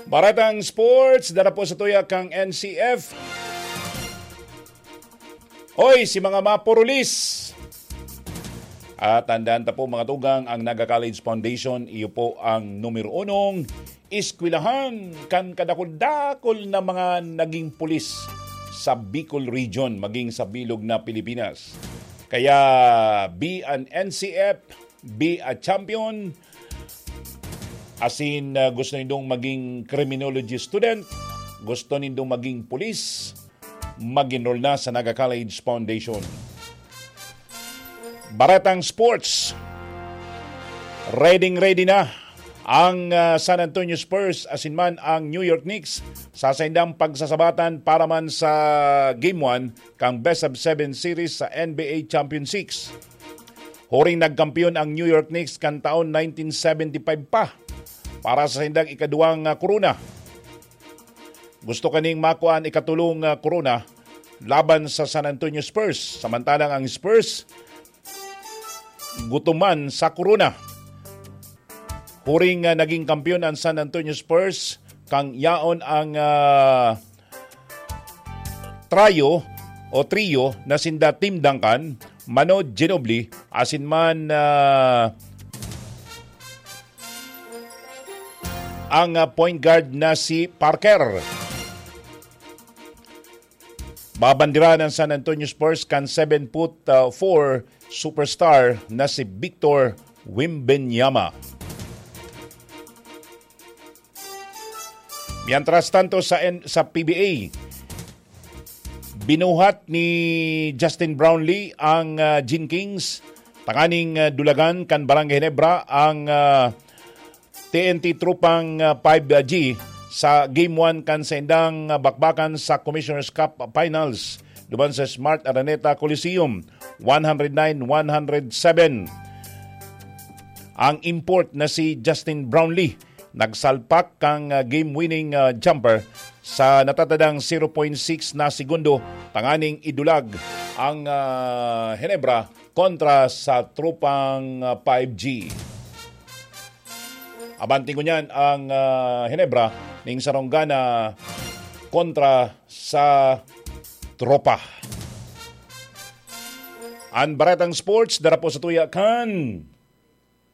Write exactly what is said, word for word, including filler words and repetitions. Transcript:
Baretang sports, dara po sa tuya kang N C F. Hoy, si mga mapurulis! At tandaan ta po, mga tugang, ang Naga College Foundation, iyo po ang numero unong eskwelahan kan kadakul-dakul na mga naging pulis sa Bicol Region, maging sa bilog na Pilipinas. Kaya, be an N C F, be a champion. Asin, ah, gusto nindong maging criminology student, gusto nindong maging pulis, mag-enroll na sa Naga College Foundation. Baretang sports. Ready, ready na ang, ah, San Antonio Spurs asin man ang New York Knicks sa saindang pagsasabatan para man sa Game one kan Best of Seven Series sa N B A Champion Six. Huring nagkampiyon ang New York Knicks kan taon nineteen seventy-five pa para sa saindang ikaduwang, ah, korona. Gusto kaning makua an ikatulong, ah, korona laban sa San Antonio Spurs. Samantalang ang Spurs, gutom man sa korona. Huring, ah, naging kampiyon ang San Antonio Spurs, kan yaon ang, ah, trio o trio na sinda Tim Duncan, Manu Ginobili, asin man, ah, ang, ah, point guard na si Parker. Babandirahan ang San Antonio Spurs kan seven foot, ah, four superstar na si Victor Wembanyama. Mientras tanto, sa N-, sa P B A, binuhat ni Justin Brownlee ang, ah, Gin Kings tanganing, ah, dulagan kan Barangay Ginebra ang, ah, T N T Tropang, ah, five G sa Game one kan saindang, ah, bakbakan sa Commissioner's Cup Finals duman sa Smart Araneta Coliseum, one hundred nine, one hundred seven. Ang import na si Justin Brownlee nagsalpak kan, ah, game-winning, ah, jumper sa natatadang zero point six na segundo tanganing idulag ang, ah, Ginebra kontra sa Tropang, ah, five G. Abanti ngunyan ang, ah, Ginebra ning sarong gana kontra sa Tropa. An Baretang Sports, dara po sa tuya kan